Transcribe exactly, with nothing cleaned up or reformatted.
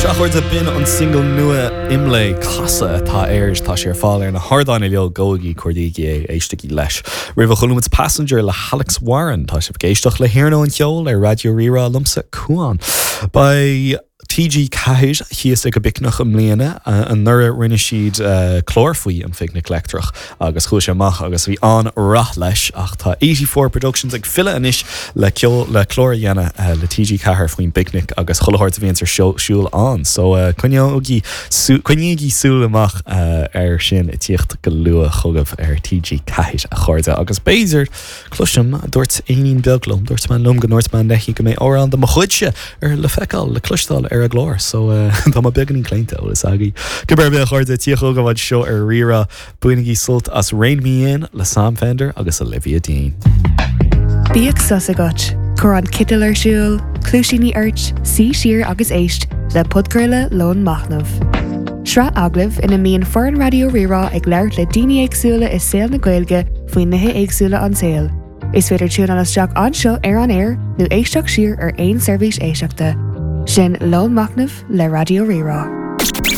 Sea, a chairde, b'in an single nua Imlé Casadh atá air tá sé ar fáil ar na hardáin uilig gabhaigí cuardaígí é éistigí leis. Roimhe chuala muid Passenger le Alex Warren tá sibh ag éisteacht le hiarnóin cheoil ar Raidió Rí-Rá liomsa Cuan. Beidh TG Ceathair thíos ag an bPicnic i mbliana anuraidh rinne siad uh, clár faoi an Phicnic Leictreach agus chuaigh sé amach agus bhí an-rath leis ach tá eighty four Productions ag filleadh anois le ceol le clár a dhéanamh uh, le TG Ceathair faoin bPicnic agus chuile shórt a bhíonn ar siúl ann. So uh, coinnígí coinnígí súil amach uh, ar sin ag tíocht go luath chugaibh ar TG Ceathair a chairde agus b'fhéidir cloisim dúirt éinín beag liom dúirt mé liom go ndúirt mé léi go mbeidh amhrán de mo chuidse ar le feiceáil le cloisteáil ar an gclár, so uh, tá mé beagáinín claonta ó is agaí. Go be chuirde tíocha go bhd seo ar Rí-Rá bainigí sult as Rein Me In le Sam Fender agus Olivia Dean. Bíodh sos agat, Cuir an citeal ar siúl, cluaisíní ort, suigh siar agus éist le podchraoladh Lón Machnaimh. Sraith agallamh ina mbíonn foireann Raidió Rí-Rá ag labhairt le daoine éagsúla i saol na Gaeilge faoi nithe éagsúla an tsaoil. Is féidir tiúnáil isteach anseo ar an aer nó éisteacht siar ar aon seirbhís éisteachta. Sin Lón Machnaimh le Raidió Rí-Rá.